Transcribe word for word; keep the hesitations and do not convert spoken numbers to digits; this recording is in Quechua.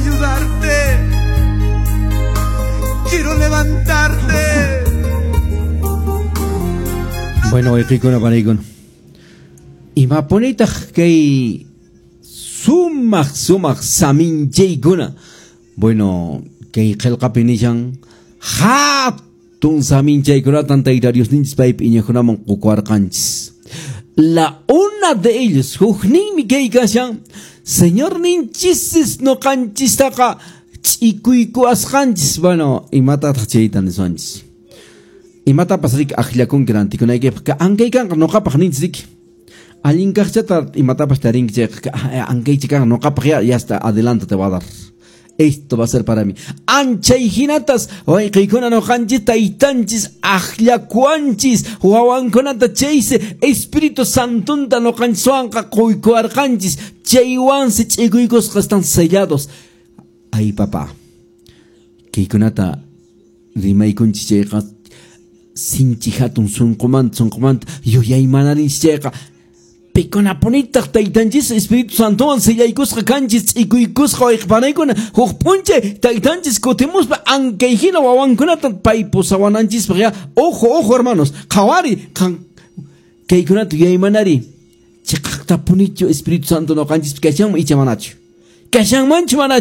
ayudarte. Quiero levantarte. Bueno, wayqiykuna panaykuna. Imapunitaq kay sumaq sumaq saminchaykuna. Bueno, kay qillqapi nishan hatun saminchaykunatan Tayta Diosninchis paypi iñiqkunaman qukuwarqanchis. La una de ellos, hukninmi kay kashan, Señorninchis nuqanchistaqa ch'ikuykuwasqanchis. Bueno, imatataq chayta niswanchis. Imatapas riki akllakunki rantikunaykipaq ankaykanqa nuqapaq ninchis riki. Allin kaqchata imatapas tarinki chayqa ankaychi kanqa nuqapaq ya, ya está, adelante te va a dar. Esto va a ser para mí. Anchay hinatas wayqiykuna nuqanchis taytanchis akllakuwanchis wawankunata chaysi Espíritu Santonta nuqanchiswanqa quykuwarqanchis chaywansi ch'ikuykusqa están sellados. Ay papá, kaykunata rimaykunchis chayqa sinchi hatun sunqumanta sunqumanta yuyaymananchis chayqa pikunapunitaq taytanchis Espíritu Santowan sellaykusqa kanchis ch'ikuykusqa wayqipanaykuna huk p'unchay taytanchis kutimuspa ankay hina wawankunata pay pusawananchispaq ya. Ojo, ojo hermanos, qhawari qan kaykunata yuyaymanari chiqaqtapunichu Espíritu Santo nuqanchispi kashanman icha manachu kashanmanchu manachu.